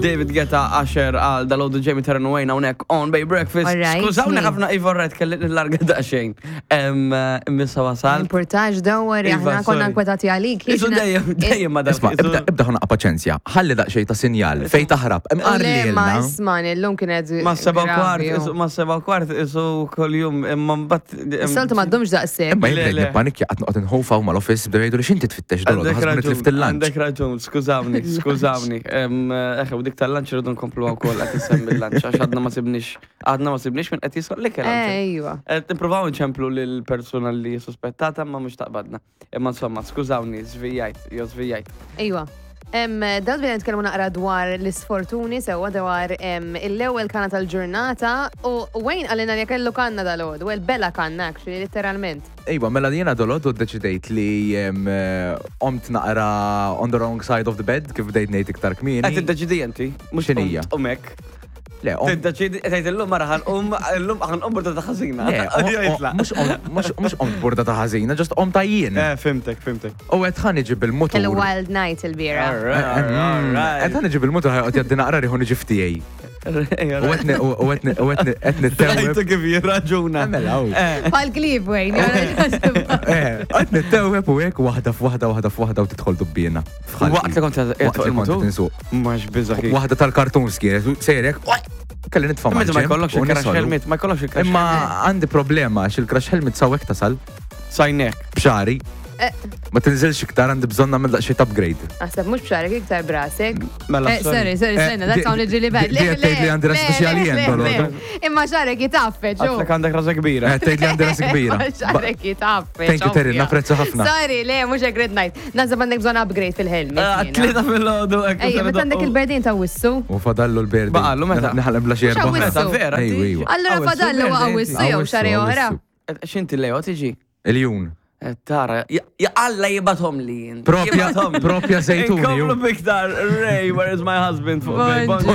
David Guetta Usher għal dal-għodu Jamie Terran Wayne hawnhekk on Bay Breakfast. Alright. Skużawni ħafna Iva Red kelli l-larga daqsxejn. Missa wasal. Importax dawar, Iva, aħna konna sorry. nkwetati għalik. Isu dejjem, dejjem ma Isma, ibda ibda ħona paċenzja, ħalli daqsxejn ta' sinjal, fej taħrab, imqar Le, li ma ilna. isma, illum kienet. Ma 7:15, gravi, isu ma 7:15 isu kuljum imma mbagħad. Soltu ma ddumx daqshekk. Imma Le, jien bdejt le. nippanikja qatt noqgħod inħofa u mal-office bdew jgħidu li x'inti tfittex dolodu Għandek ħasbu raġun, nitlift il-lunch. għandek raġun, skużawni, skużawni. Eħe, u dik tal-lunch irridu nkomplu wkoll qed insemmi l-lunch għax għadna ma sibniex, għadna ma sibniex minn qed jisol l-ikel. Ejwa. Qed nippruvaw nċemplu lil persuna li suspettata ma mhux taqbadna. Imma insomma, skużawni, żvijajt, jew żvijajt. Ejwa. Dawd bdejna nitkellmu naqra dwar l-isfortuni sewwa dwar l-ewwel kanna tal-ġurnata u Wayne qalilna li kellu kanna dalgħodu, well bela kanna actually litteralment. Iva, mela jiena dalgħodu ddeċidejt li qomt naqra on the wrong side of the bed kif bdejt ngħid iktar kmieni. Qed tiddeċidi inti, mhux X'inhija? qomt umek. Le, qomt. Tiddeċidi, tgħid illum mara ħanqum, illum ħanqum burda ta' ħażina. Le, mhux qomt burda ta' ħażina, ġast qomt għajjien. Eh, fimtek, fimtek. U qed ħa niġi bil-mutur. Kellu wild night il-bieraħ. Qed ħa niġi bil-mutur ħa joqgħod jgħaddi naqra riħu niġi f'tiegħi. U qed u qed u qed qed nittewweb. Rajtu kif jirraġuna. Mela hu. Bħal klieb Wayne. Eh, qed nittewweb u hekk waħda f'waħda waħda f'waħda u tidħol dubbiena. Waqt li kont Waqt li kont qed insuq. Mhux biża' Waħda tal-kartuns kienet, sejrek, kelli nitfa' Ma mal-ġenb jkollokx u il-crash nisolu. helmet, ma jkollokx il-crash Imma għandi problema għax il-crash helmet sawek tasal Sajnek. b'xari. Eh. Ma tinżilx iktar għandi bżonn nagħmel daqsxejn upgrade. Naħseb mhux b'xarek iktar brasek. Mela, Eh, Sorry, sorry, Eh, stenna, that di- sounded really bad. di- di qed tgħid li għandi ras speċjali jien, Dolor. Imma xarek jitaffeġ. hu. Għatlek għandek rasa kbira. Eh, Tgħid li għandi ras kbira. Imma Xarek jitaffeġ. Thank you, Terry, ovvja. napprezza ħafna. Sorry, le, mhux hekk rid ngħid. Naħseb għandek bżonn upgrade fil-helmet. Eh, jiena. Tlieta fil-ħodu. Ejja, meta għandek il-berdin ta' wissu. U fadallu l-berdi. Baqallu meta? Naħlem bla xi Mhux erba' hawn Meta vera? Ejwa, ejwa. Allura fadallu għawissu jew xahar oħra. Awwissu. X'inti Leo tiġi? Il-jun. Eh, Tara, ja Alla jibathom li jien. Propja- Jibathom li. propja zejtuni, Inkomplu ju. biktar, Ray, where is my husband? Fuq Bay Bonġu.